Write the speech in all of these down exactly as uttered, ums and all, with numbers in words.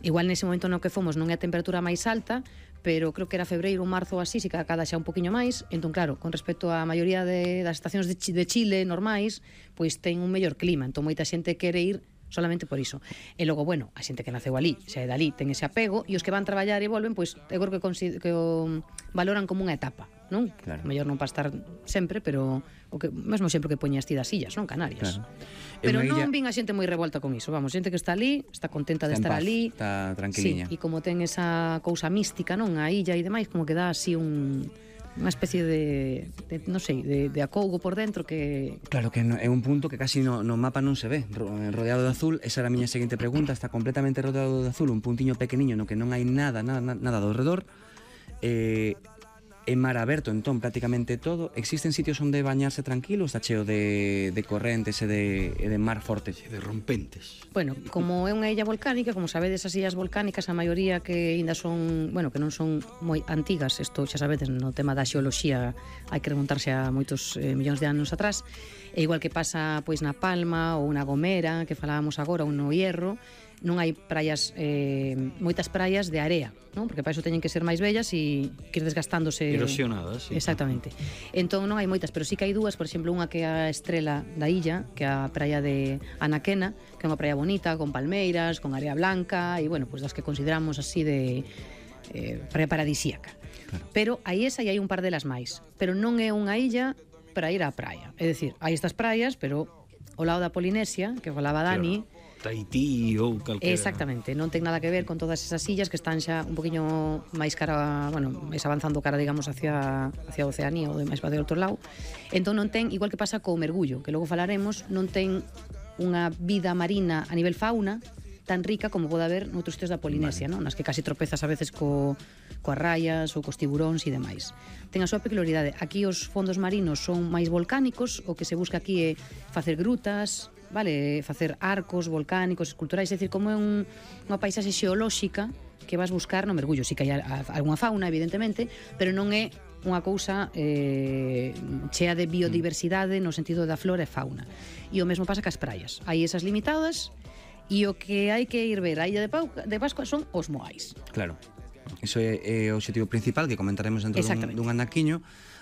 igual nese momento no que fomos non é a temperatura máis alta, pero creo que era febreiro ou marzo ou así, si que cada xa un poquinho máis. Entón, claro, con respecto á maioría de, das estacións de, de Chile normais, pois ten un mellor clima, entón moita xente quere ir solamente por iso. E logo, bueno, a xente que naceu ali, xa é dali, ten ese apego, e os que van traballar e volven, pois eu creo que, que o valoran como unha etapa, non? Claro. Mellor non para estar sempre, pero o que mesmo sempre que poñas ti das illas, non? Canarias. Claro. Pero non illa... vin a xente moi revolta con iso, vamos, xente que está ali, está contenta de está estar paz, ali. Está tranquiliña. Sí, e como ten esa cousa mística, non? A illa e demais, como que dá así un... unha especie de, de non sei, de, de acougo por dentro que... Claro que no, é un punto que casi no, no mapa non se ve, rodeado de azul. Esa era a miña seguinte pregunta, está completamente rodeado de azul, un puntiño pequeniño no que non hai nada, nada, nada do redor. Eh, é mar aberto, entón, prácticamente todo. Existen sitios onde bañarse tranquilo, está cheo de, de correntes e de, e de mar forte, de rompentes. Bueno, como é unha illa volcánica, como sabedes, as illas volcánicas, a maioría que ainda son, bueno, que non son moi antigas, isto xa sabedes, no tema da xeoloxía hai que remontarse a moitos eh, millóns de anos atrás, e igual que pasa pois na Palma ou na Gomera, que falábamos agora, ou no Hierro, non hai praias, eh, moitas praias de area, non? Porque para iso teñen que ser máis bellas e que ir desgastándose... Erosionadas, sí. Exactamente. Entón non hai moitas, pero sí que hai dúas, por exemplo, unha que é a estrela da illa, que é a praia de Anaquena, que é unha praia bonita, con palmeiras, con area blanca, e, bueno, pues das que consideramos así de eh, praia paradisíaca. Claro. Pero hai esa e hai un par delas máis. Pero non é unha illa para ir á praia. É dicir, hai estas praias, pero ao lado da Polinesia, que falaba Dani... Claro. Tahití ou calquera. Exactamente, non ten nada que ver con todas esas illas que están xa un poquinho máis cara, bueno, máis avanzando cara, digamos, hacia hacia a Oceanía ou máis para o outro lado. Entón non ten, igual que pasa co mergullo, que logo falaremos, non ten unha vida marina a nivel fauna tan rica como pode haber noutros sitios da Polinesia, vale. Non? Nas que casi tropezas a veces co, coas raias ou cos tiburóns e demais. Ten a súa peculiaridade. Aquí os fondos marinos son máis volcánicos, o que se busca aquí é facer grutas, vale, facer arcos volcánicos, esculturais, é dicir, como é un, unha paisaxe xeolóxica que vas buscar no mergullo. Si que hai algunha fauna, evidentemente, pero non é unha cousa eh, chea de biodiversidade no sentido da flora e fauna. E o mesmo pasa cas praias. Hai esas limitadas e o que hai que ir ver a Illa de, Pau, de Pascua son os moais. Claro. Iso é, é o objetivo principal que comentaremos dentro dun, dun anaquiño.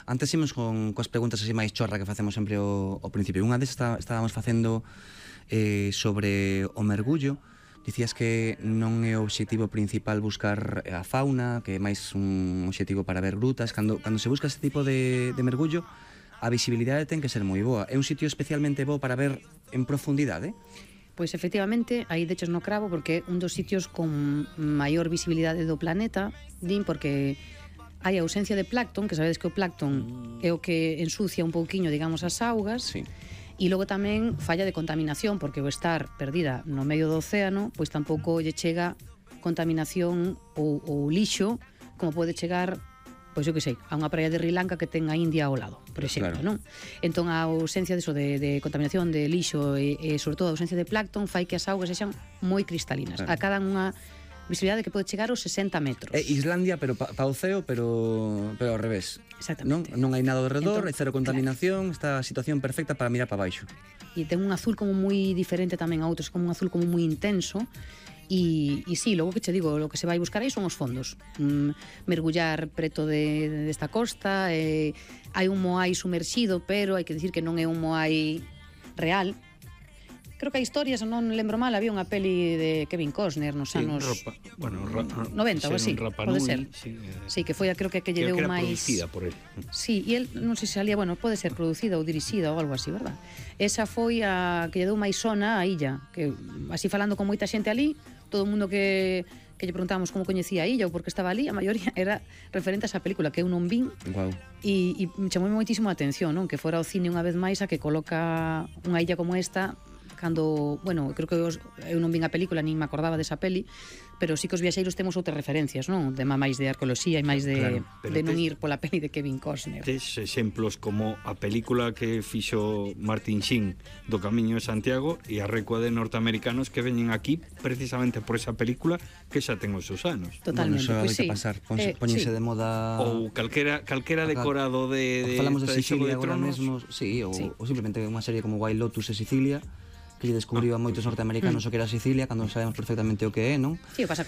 Antes imos con coas preguntas así máis chorra que facemos sempre ao, ao principio. Unha vez está, estábamos facendo eh, sobre o mergullo. Dicías que non é o obxectivo principal buscar a fauna, que é máis un obxectivo para ver grutas. Cando, cando se busca este tipo de, de mergullo, a visibilidade ten que ser moi boa. É un sitio especialmente bo para ver en profundidade? Pois efectivamente, aí dechos no cravo, porque é un dos sitios con maior visibilidade do planeta, din, porque hai ausencia de plancton, que sabedes que o plancton é o que ensucia un pouquiño, digamos, as augas. Sí. E logo tamén falla de contaminación, porque o estar perdida no medio do océano, pois tampouco lle chega contaminación ou, ou lixo, como pode chegar, pois eu que sei, a unha praia de Sri Lanka que ten a India ao lado, por exemplo, claro. Non? Entón a ausencia de, eso, de, de contaminación de lixo e, e sobre todo a ausencia de plancton fai que as augas sexan moi cristalinas. Claro. Acadan unha visibilidade que pode chegar aos sesenta metros. É Islandia, pero pa, pa o ceo, pero, pero ao revés. Exactamente. Non, non hai nada ao redor, entón, hai cero contaminación, claro. Está a situación perfecta para mirar para baixo. E ten un azul como moi diferente tamén a outros, como un azul como moi intenso. E, e sí, logo que che digo, lo que se vai buscar aí son os fondos. Mm, mergullar preto de, desta costa, eh, hai un moai sumerxido, pero hai que dicir que non é un moai real. Creo que a historia, se non lembro mal, había unha peli de Kevin Costner nos sí, anos Rapa, bueno, ra, noventa ou así, pode ser. Sí, eh, sí, que foi a creo que que lle deu máis... producida por él. Sí, e el, non sei se salía, bueno, pode ser producida ou dirixida ou algo así, verdad? Esa foi a que lle deu máis sona á illa, que así falando con moita xente ali, todo o mundo que que lle preguntábamos como coñecía a illa ou por que estaba ali, a maioría era referente a esa película que eu non vin. Wow. E, e me chamou moitísimo a atención, non? Que fora ao cine unha vez máis a que coloca unha illa como esta cando, bueno, creo que os, eu non vin a película nin me acordaba desa peli, pero sí que os viaxeiros temos outras referencias, non? Tema máis de arqueoloxía e máis de, claro, de non ir pola peli de Kevin Costner. Tes exemplos como a película que fixo Martin Sheen do Camiño de Santiago e a recua de norteamericanos que veñen aquí precisamente por esa película que xa ten os seus anos. Totalmente, bueno, pois pues sí. sí. Pasar, ponse, eh, poñense sí. de moda... Ou calquera, calquera decorado de, de, falamos de, de Sicilia agora mesmo, sí, ou, sí. ou simplemente unha serie como Wild Lotus e Sicilia, que lle descubriu a moitos norteamericanos o que era Sicilia, cando sabemos perfectamente o que é, non? Sí, o pasa